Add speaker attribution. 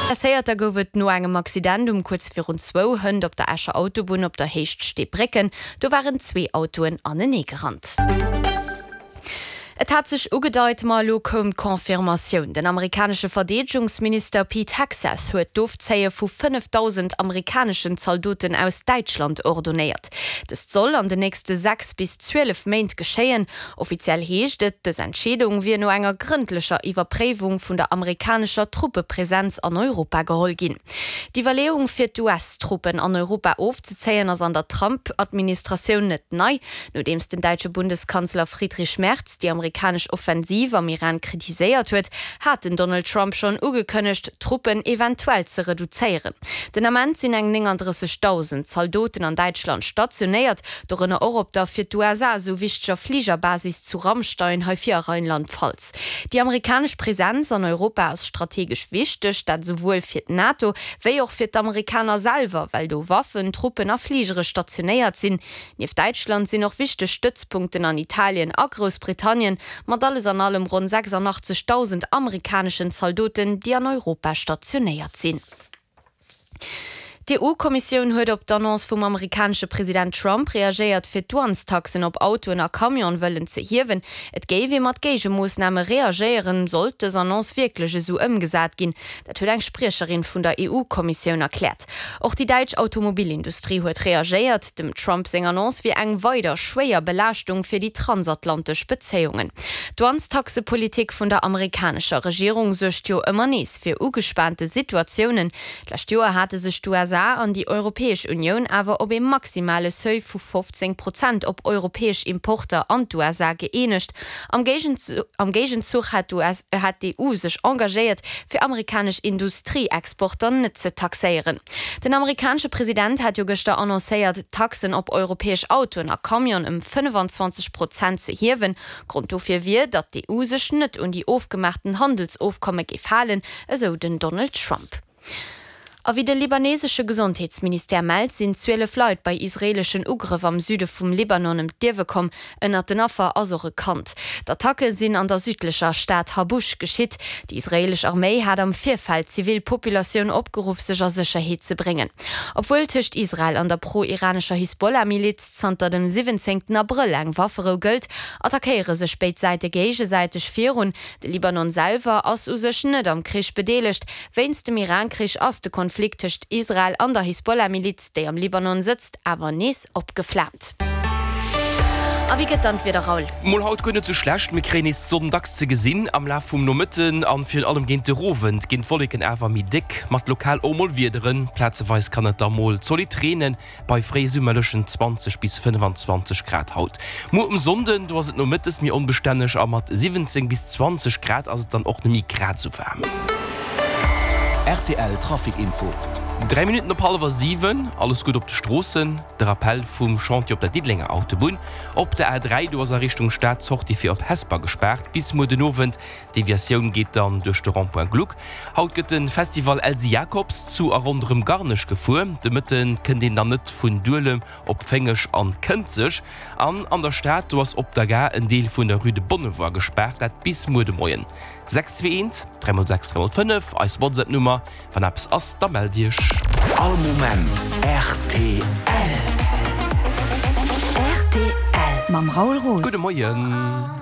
Speaker 1: Blesséierter gouf et no engem Accident um kuerz virun zwou hënt op der Escher Autobunn op der Héicht Steebrécken. Do waren zwee Autoen aneneegerannt. Et hat sech ugedeit, ma elo koum d'Confirmatioun. Den amerikanesche Verdeedegungsminister Pete Hegseth huet d'Ofzéie vu 5.000 amerikaneschen Zaldoten aus Däitschland ordonéiert. Dëst soll an den nächste 6 bis 12 Méint geschéien. Offiziell heescht et, dës Entscheedung wier no enger grëndlecher Iwwerpréiwung vun der amerikanescher Truppepresenz an Europa geholl ginn. D'Iwwerleeung fir d'US-Truppen an Europa ofzezéien ass an der Trump-Administratioun net nei. Nodeems den däitsche Bundeskanzler Friedrich Merz déi amerikanesch Offensiv am Iran kritiséiert huet, hat den Donald Trump schonn ugekënnegt, d'Truppen eventuell ze reduzéieren. Den Ament sinn eng 39.000 Zaldoten an Däitschland stationéiert, dorënner och op der fir d'USA esou wichteger Fligerbasis zu Ramstein, hei vir a Rheinland-Pfalz. Déi amerikanesch Presenz an Europa ass strategesch wichteg, dat esouwuel fir d'NATO, wéi och fir d'Amerikaner selwer, well do Waffen, Truppen a Fligere stationéiert sinn. Nieft Däitschland sinn och wichteg Stëtzpunkten an Italien a Groussbritannien, mat alles an allem ronn 86.000 amerikaneschen Zaldoten, déi an Europa stationéiert sinn. D'EU-Kommissioun huet op d'Annonce vum amerikanesche President Trump reagéiert, fir d'Douanestaxen op Autoen a Camione wëllen ze hiewen. Et géif ee mat Géigemoossname reagéieren, sollt dës Annonce wierklech esou ëmgesat ginn. Dat huet eng Spriecherin vun der EU-Kommissioun erkläert. Och déi däitsch Automobilindustrie huet reagéiert. Dem Trump seng Annonce wier eng weider schwéier Belaaschtung fir déi transatlantesch Bezéiungen. D'Douanestaxepolitik vun der amerikanescher Regierung suergt jo ëmmer nees fir ugespaante Situatiounen. D'lescht Joer hate sech d'USA an déi Europäesch Unioun awer op ee maximale Seuil vu 15 Prozent op europäesch Importer an d'USA gëeenegt. Am Géigenzuch hat d'EU sech engagéiert, fir amerikanesch Industrieexporter net ze taxéieren. Den amerikanesche President hat jo gëschter annoncéiert, d'Taxen op europäesch Autoen a Camionen ëm 25 Prozent ze hiewen. Grond dofir wier, datt d'EU sech net un déi ofgemaachten Handelsofkomme géif halen, esou den Donald Trump. A wéi de libanesesche Gesondheetsministère mellt, sinn 12 Leit bei israeeleschen Ugrëff am Süde vum Libanon ëm d'Liewe komm. Ënnert den Affer ass och e Kand. D'Attacke sinn an der südlecher Stad Habush geschitt. Déi israeelesch Arméi hat am Virfeld d'zivil Populatioun opgeruff, sech a Sécherheet ze bréngen. Obwuel tëscht Israel an der pro-iranescher Hisbollah-Miliz zanter dem 17 Abrëll eng Wafferou gëllt, attackéiere sech béid Säite géigesäiteg virun. De Libanon selwer ass u sech net am Krich bedeelegt. Wéinst dem Iran-Krich ass de Konflikt tëscht Israel an der Hisbollah-Miliz, déi am Libanon sëtzt, awer nees opgeflaamt. A wéi gëtt dann d'Wieder, Raoul?
Speaker 2: Mol haut guer net sou schlecht, mir kréien nees d'Sonn dacks ze gesinn. Am Laf vum Nomëtten an virun allem géint de Owend ginn d'Wolleken awer méi déck, mat lokal och mol Wiederen. Plazeweis kann et da mol zolidd reenen. Bei fréisummerlechen 20 bis 25 Grad haut. Muer um Sonnden, do ass et nomëttes méi onbestänneg a mat 17 bis 20 Grad ass et dann och nemmi grad sou waarm.
Speaker 3: Rtl Trafic Info.
Speaker 2: 3 Minutten op hallwer 7, alles gutt op de Stroossen. De Rappell vum Chantier op der Diddelenger Autobunn. Op der A3, do ass a Richtung Stad d'Sortie fir op Hesper gespaart bis muer den Owend. D'Deviatioun geet dann duerch de Rond-point Gluck. Haut gëtt de Festival Elsy Jacobs zu a ronderëm Garnech gefuer. De Mëtte kënnt een dann net vun Duelem op Féngeg an Kënzeg. An an der Stad, do ass op der Gare en Deel vun der Rue de Bonnevoie gespaart, dat bis muer de Moien. 6 2 1 3 x 6 3 x 5, eis WhatsApp-Nummer. Wann eppes ass, da mellt iech.
Speaker 3: All Moment rtl.
Speaker 4: Rtl mam Raoul Roos.
Speaker 2: Gudde Moien.